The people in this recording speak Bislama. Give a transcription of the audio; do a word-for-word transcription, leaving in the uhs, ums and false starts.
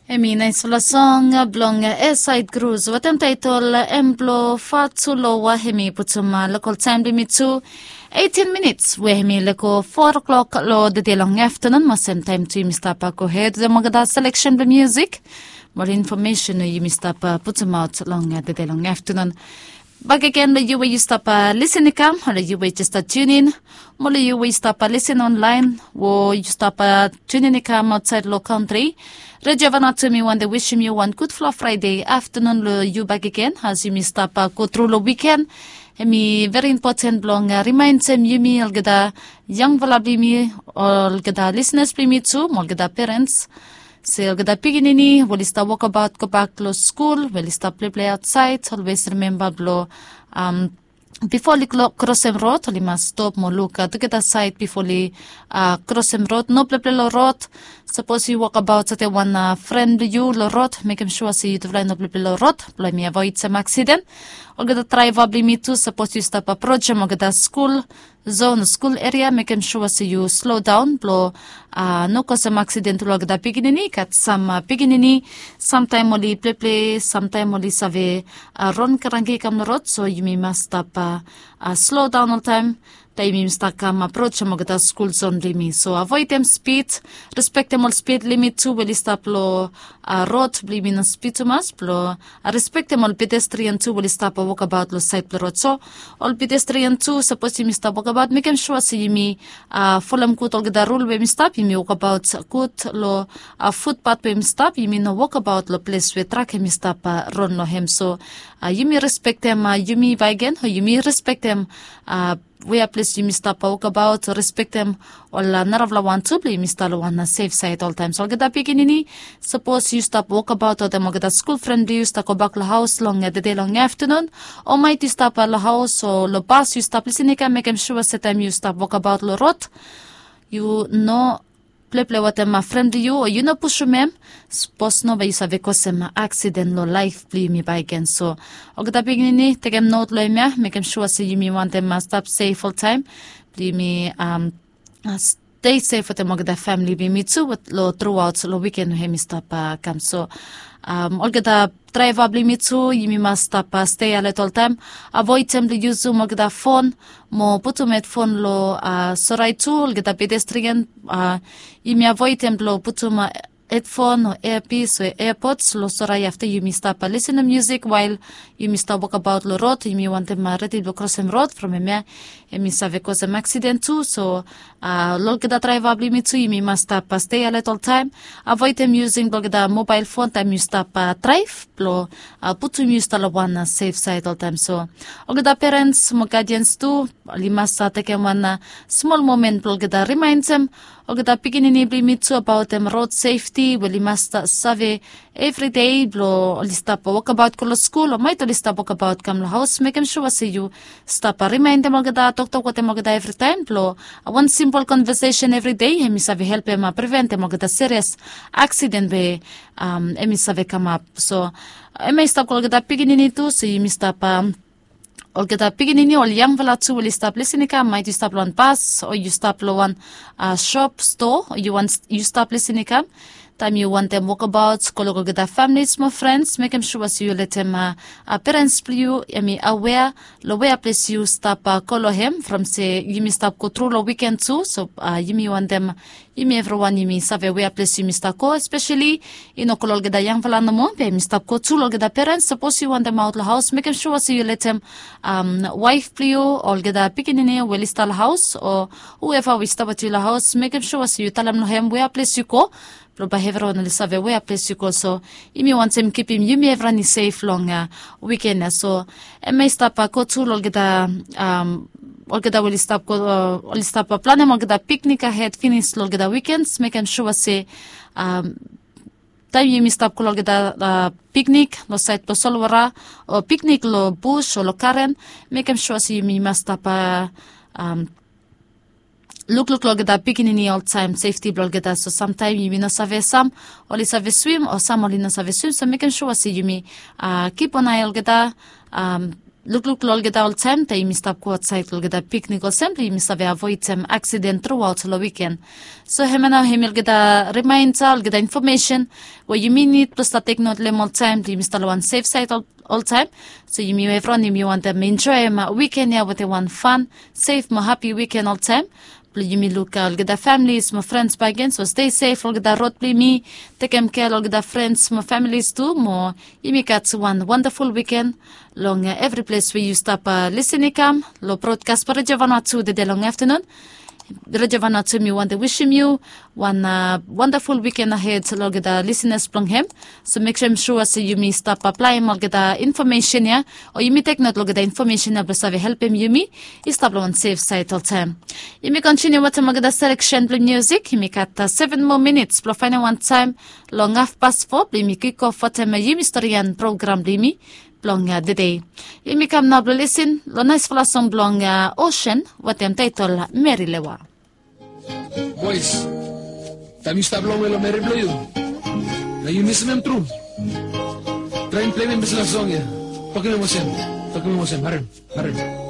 Em i naisfala song blong Esaid Grus wetem taitol em blo Fatu Loa. Em i putum lokal taem blong yumi tu eighteen minits we em i lego four o'clock lo dede long aftanun. Mo sem taem tu yumi stap gohed wetem olgeta seleksen blong musik mo ol infomesen we yumi stap putumaot long dede long aftanun. Bakegen lo yu we yu stap lisin i kam, o lo yu we jes stap tunin, mo lo yu we yu stap lisin onlaen, o yu stap tunin i kam aotsaed lo kantri. Redio Vanuatu, mi wantem wisim yu wan gudfala Fraede aftanun lo yu bakegen as yumi stap go tru lo wiken. Em i veri impoten blong rimaendem yumi olgeta yangfala blong yumi, olgeta lisenas blong yumi tu, mo olgeta perens, se olgeta pikinini we oli stap wokabaot gobak lo skul, we oli stap pleplei aotsaed, olwes rimemba blo, am, bifo oli klo-, krosem rod, oli mas stop mo luk, a, tugeta saed bifo oli, a, krosem rod. No pleplei lo rod. Sapos yu wokabaot wetem wan, a, fren blong yu lo rod, mekem sua se yutufala i no pleplei lo rod blo yumi avoedem aksiden. Olgeta draeva blong yumi tu, sapos yu stap aprojem olgeta skul zon o skul eria, mekem sua se yu slodaon blo, a, no kosem aksiden tu lo olgeta pikinini. Gat sam, a, pikinini, samtaem oli pleplei, samtaem oli save, a, ron kranki i kam lo rod, so yumi mas stap, a, a, slodaon oltaem taem yumi stap kam aprojem olgeta skul zon blong yumi. So avoedem spid, respektem ol spid limit tu we oli stap lo, a, rod blong yumi, no spid tumas, blo, a, respektem ol pedestrian tu we oli stap wokabaot lo saed blo rod. So ol pedestrian tu, sapos yumi stap wokabaot, mekem sua se yumi, a, folem gud olgeta rul we yumi stap, yumi wokabaot gud lo, a, futpat we yumi stap, yumi no wokabaot lo ples we trak hemi stap, a, ron lo hem. So, a, yumi respektem, a, yumi bakegen, o yumi respektem, a, wea ples yumi stap wokabaot, respektem ol, a, narafala wan tu blo yumi stap lo wan, a, sef saed oltaem. So olgeta pikinini, sapos yu stap wokabaot wetem olgeta skul fren blong yu, stap gobak lo haos long, a, tede long aftanun, o maet yu stap, a, lo haos o lo bas yu stap lisin i kam, mekem sua se taem yu stap wokabaot lo rod, yu no pleplei wetem, a, fren blong yu, o yu no pusum hem. Sapos no, bae yu save kosem, a, aksiden lo laef blong yumi bakegen. So olgeta pikinini, tekem not lo hemia, mekem sua se yumi wantem, a, stap sef oltaem blong yumi, am, a, stei sef wetem olgeta famili blong yumi tu, wet-, lo truaot lo wiken we hemi stap, a, kam. So, am, olgeta draeva blong yumi tu, yumi mas stap, a, stei alet oltaem. Avoedem blo yusum olgeta fon, mo putum hedfon lo, a, sorae tu, olgeta pedestrian, a, yumi avoedem blo putum, a, hedfon o eapis o eapods lo sorae afta yumi stap, a, lisinim musik wael yumi stap wokabaot lo rod, yumi wantem, a, redi blo krosem rod, from hemia hemi save kosem aksiden tu. So, a, lo olgeta draeva blong yumi tu, yumi mas stap, a, stei alet oltaem. Avoedem yusing olgeta mobael fon taem yu stap, a, draev, blo, a, putum yu stap lo wan, a, sef saed oltaem. So olgeta perens mo gadians tu, oli mas, a, tekem wan, a, smol momen blo olgeta rimaendem olgeta pikinini blong yumi tu abaotem rod sefti, we oli mas, a, save evri dei blo oli stap wokabaot go lo skul, o maet oli stap wokabaot kam lo haos, mekem sua se yu stap, a, rimaendem olgeta, toktok wetem olgeta evritaem blo, a, wan simpol konvesesen evri dei hemi save helpem, a, priventem olgeta serias aksiden we, am, hemi save kamap. So hemia i stap go lo olgeta pikinini tu, so yumi stap, am, olgeta pikinini, ol yangfala tu we oli stap lisin i kam, maet yu stap lo wan bas o yu stap lo wan, a, sop, stoa, o yu wan, yu stap lisin i kam, taem yu wantem wokabaot, go lo olgeta familis mo frens, mekem sua se yu letem, a, a, perens blong yu hemi awea lo wea ples yu stap, a, go lo hem, from se yumi stap go tru lo wiken tu. So, a, yumi wantem yumi evriwan yumi save wea ples yumi stap go, espeseli i no go lo olgeta yangfala nomo, be yumi stap go tu lo olgeta perens. Sapos yu wantem aot lo haos, mekem sua se yu letem, am, waef blong yu, olgeta pikinini we oli stap lo haos, o hueva we i stap wetem yu lo haos, mekem sua se yu talem lo hem wea ples yu go, blo bae evriwan oli save wea ples yu go. So yumi wantem kipim yumi evriwan i sef long, a, wiken ya. So hemia i stap, a, go tu lo olgeta, am, olgeta we oli stap go, a, oli stap, a, planem olgeta piknik ahed finis lo olgeta wikens, mekem sua se, am, taem yumi stap go lo olgeta, a, piknik lo saed blo solwota, o piknik lo bus o lo garen, mekem sua se yumi mas stap, a, am, lukluk lo olgeta pikinini oltaem, sefti blo olgeta. So samtaem yumi no save, sam oli save swim o sam oli no save swim, so mekem sua se yumi, a, kipon ae olgeta, am, lukluk long olgeta oltaem taem yumi stap go ausait long olgeta piknik olsem blong yumi save avoedem aksiden truaot long wiken. So hemia nao hemi olgeta rimaenda, olgeta infomesen we yumi nid blong stap teknot long hem oltaem blong yumi stap long wan sef saed oltaem. So yumi evriwan yumi wantem enjoem wiken ya wetem wan fan, sef mo hapi wiken oltaem. Blong yumi luk olgeta familis mo frens bakegen, so stei sef long olgeta rod blong yumi, tekem kea long olgeta frens mo familis tu, mo yumi gat wan wandaful wiken long evri ples we yu stap lisin i kam long brodkas blong Redio Vanuatu tede long aftanun. Redio Vanuatu, mi wantem wisim yu wan wandaful wiken ahed long olgeta lisinas blong hem. So mekem sua se yumi stap aplaem olgeta infomesen ya, o yumi teknot long olgeta infomesen ya blong save helpem yumi i stap long wan sef saed oltaem. Yumi kontiniu wetem olgeta seleksen blong miusik. Yumi gat seven moa minits blong faenem wan taem long hafpas fo blong yumi kikof wetem yumi storian program blong yumi blong tede. Yumi kam nao blong lisin long naesfala song blong Osen wetem taetol Meri Lewa. Boes, taem yu stap longwe long meri blong yu, na yu misim hem tru, traem pleim hem dispela song ya. Tokim hem olsem, tokim hem olsem, harem, harem.